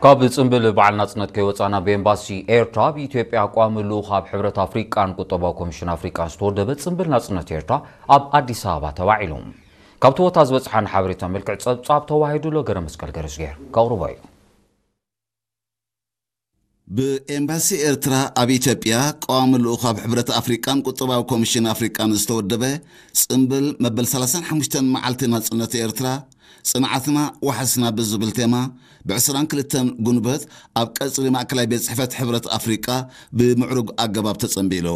ካብ ጽንብል በዓል ናጽነት ከይወጻና ብኤምባሲ ኤርትራ ኣብ ኢትዮጵያ ቋሚ ልኡኽ ኣብ ሕብረት ኣፍሪቃን ቁጠባዊ ኮሚሽን ኣፍሪቃን ዝተወደበ ጽንብል ናጽነት ኤርትራ ኣብ ኣዲስ ኣበባ ተባዒሉ። ካብቲ ቦታ ዝበጽሓን ሓበሬታ መልክዕ ጸብጻብ ተዋሂዱ ለገረ መስቀል ገረዝጌር ከቕርቦ እዩ። ብኤምባሲ ኤርትራ ኣብ ኢትዮጵያ ቀዋሚ ልኡኽ ኣብ ሕብረት ኣፍሪቃን ቁጠባዊ ኮሚሽን ኣፍሪቃን ዝተወደበ ጽንብል መበል ሰላሳን ሓሙሽተን መዓልቲ ናጽነት ኤርትራ ጽንዓትና ዋሕስና ብዝብል ቴማ ብዕስራን ክልተን ጉንበት ኣብ ቀጽሪ ማእከላይ ቤት ጽሕፈት ሕብረት ኣፍሪቃ ብምዕሩግ ኣገባብ ተጸንቢሉ።